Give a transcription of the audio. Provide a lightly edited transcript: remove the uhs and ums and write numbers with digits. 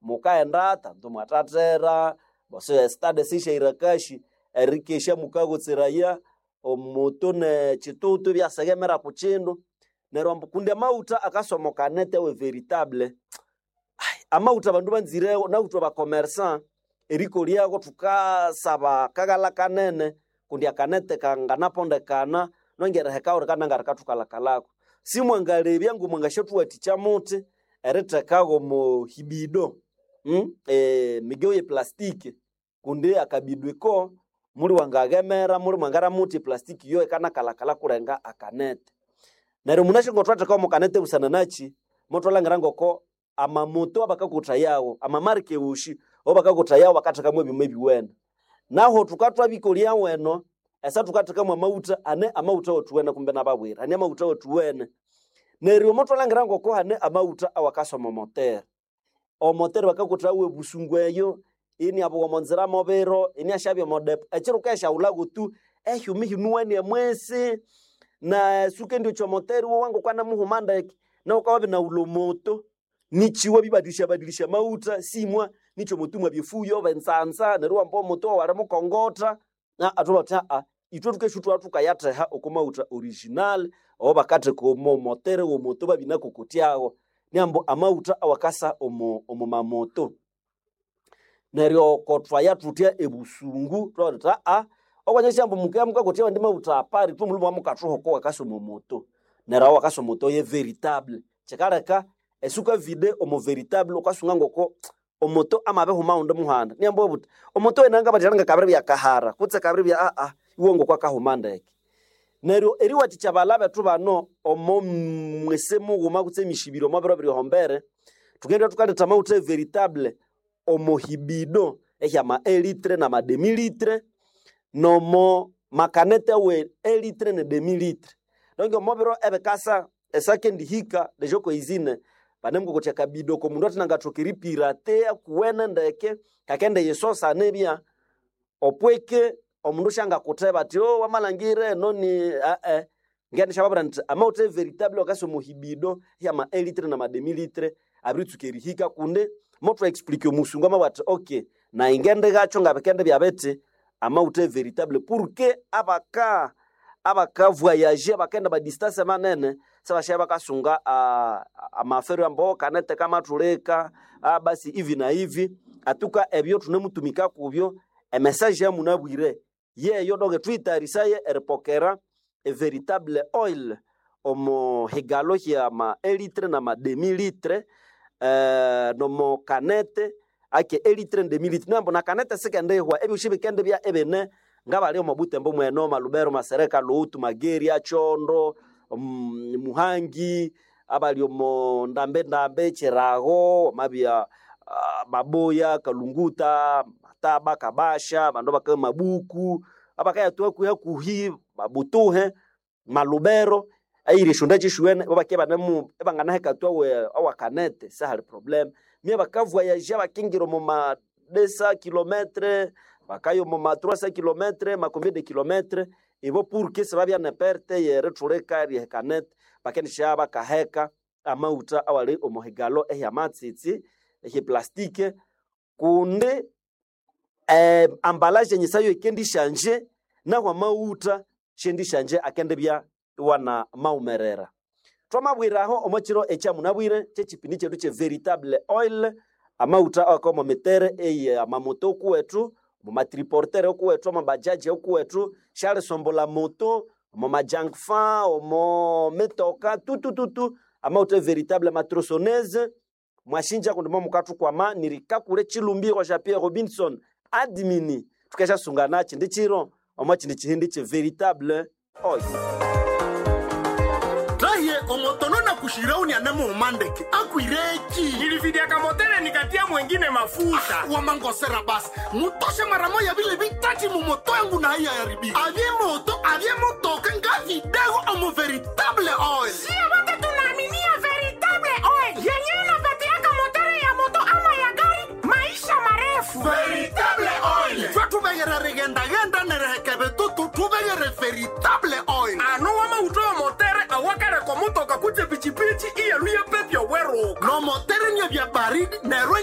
Mukaghenda tandu mwathathera bose stade sisyairakashi erikesya mukagotseraya omuto nekyitutu ibyasegemera ku kindu. Neryo ambu kundi amawutha akasomokanete awe veritable. Amawutha abandu banzirewo nawuthwe abakomersa erikolyako thukasaba akaghalha kanene kundi akanete kanganapondekana nongerihekawo rikanangarikathukalhakalhako. Simwangalebya ngomwangasyathuwathikya muthi erithekago omo hibido emigeu ye plastiki kundi akabido iko muli wangaghemera muli mwangara muthi eplastiki iyo ikanakalhakalha kulenga akanete. Neryo munasi ngothwatheka omo kanete busana nakyi mothwalhangira ngoko amamoto abakakuthayawo amamarika ewoshi awabakakuthayawo bakathekamu ebyuma ebiwene. Naho thukathwabikolya weno esa thukathekamu amawutha ane amawutha awathuwene kumbe nababwira hane amawutha awathuwene. Neryo mothwalhangira ngoko hane amawutha awakasoma omotere. Omotere bakakuthawo ebusungu eyo iniabugha omonzira mobiro iniasyabya omodepo ekiro wukayasyaghulhago tu ehyuma ihinuwene emwisi na sukendiocha omotere wowa ngokwanamuhuma ndeke nawu wukabya inawulha omoto nikiwa bibadilisha badilisha amawutha simwa nikyo omoto mwabya efuyo oba enzanza neryo iwamba omoto wawu alimukongotha thwabugha thuthi ithwe thukesya thukaya oko mawutha original awabakatheka omo motere womoto babinakokotyago niambu amawutha awakasa omo mamoto. Neryo kothwaya thuthya ebusungu thwabugha thuthi okwanyasya ambu mukabya mukakotya awandi mawutha apari ithwe omulhume mwamukathuha oko wakasa omo moto. Neryo aho wakasa omoto ye veritable. Kyikaleka esukavide omo veritable wukasunga ngoko omoto amabihuma ghundi muhanda niambu obuthi omoto enanga ngakabiribya kahara kutse kabiribya iwe ngoko akahuma ndeke. Neryo eriwathikya abalha bethu bano omo mwisi mughuma kutse emishibiro omo biro biri thukendibya thukaletha amawutha e veritable omo hibido ehyama elitre nama demi litre nomo makanete awe elitre ne demi litre. Donc omo biro ebikasa esakendihika deja okoizine banemukokotya akabido oko mundu athinangathoka eripiratea akuwene ndeke kakendiyisosa nibya opweke omundu syangakutheba athi oh wamalhangira eno ni ngendishababwira nthi amawutha e veritable akasa omo hibido hyama elitre nama demi litre abiritsuka erihika kundi mothwa explique omusungu amabugha athi okay nayi ngendighakyo ngabikendibya bithi amawutha e veritable porque abaka abakavoyager abakaghenda amadistance manene sibasyaghenda bakasunga amafere ambu kanete kamathulika basi hivi na hivi atuka ebyo thunemutumika kubyo emessage yamunabwire yeyo donc thuyitayarisaye eripokera e veritable oil omo higalo hyama elitre nama demi litre nomo kanete ake elitre ne demi litre nambu nakanete sikendihwa ebyosi bikendibya ebine ngabali omo Butembo mweno Malubero Masereka Luhutu Mageria Chondo Muhangi abali omo Ndambe Ndambe Chirago mabya Maboya Kalunguta Mataba Kabasha bandu baka Mabuku abakayathwa kuhi Mabutuhe Malubero eyiri esyonda kyeshuwene babake banemu ebanganahekathwa awakanete sihali problem mye bakavoyager bakingira omo ma 200 kilometre bakaya omo ma 300 kilometre ma combien de kilometre ibo pour que sibabya ne perte yerithulika eriheka bakendisya bakaheka amawutha awali omo higalo ehyamatsitsi ehyeplastiki kundi ambalage enyisa yo yikendishanje nahu amawutha shendishanje akendibya iwana mawumerera. Thwamabwiraho omo kiro ekyamunabwire kyekyipindi kyethu kye veritable oil amawutha awaka omo mitere eye amamoto okuwethu omo matriportere okuwethu omo bajaji okuwethu syalisombolha moto omo majankfa omo mitoka tutututu amawutha e veritable matrosoneze mwashinja kundi momukathukwama nirikakule chilumbiro sya Pierre Robinson admini thukasyasunga kyindi kiro omo kyindi kihindi kye veritable oil. Rahiye omotono na kushirauni anemuumandeke akwireki Nilividiaka motele nikatia mwengine mafuta. Wamangosera basi mutoshe mara moya vile vitati mumoto yangu na haiya yaribika avye moto avye motoka nga vidego omo veritable oil Sio wote tunaaminia veritable oil yenyewe inapatiaka motori ya moto ama ya gari maisha marefu. Veritable oil twe tuvegere rigendagenda nerehekeve tutu tuvegere veritable oil Ano wamautowa motere awakare komutoka kutse pichipichi iyeluye pepyo weruka. No motere nye vya baridi nerwe.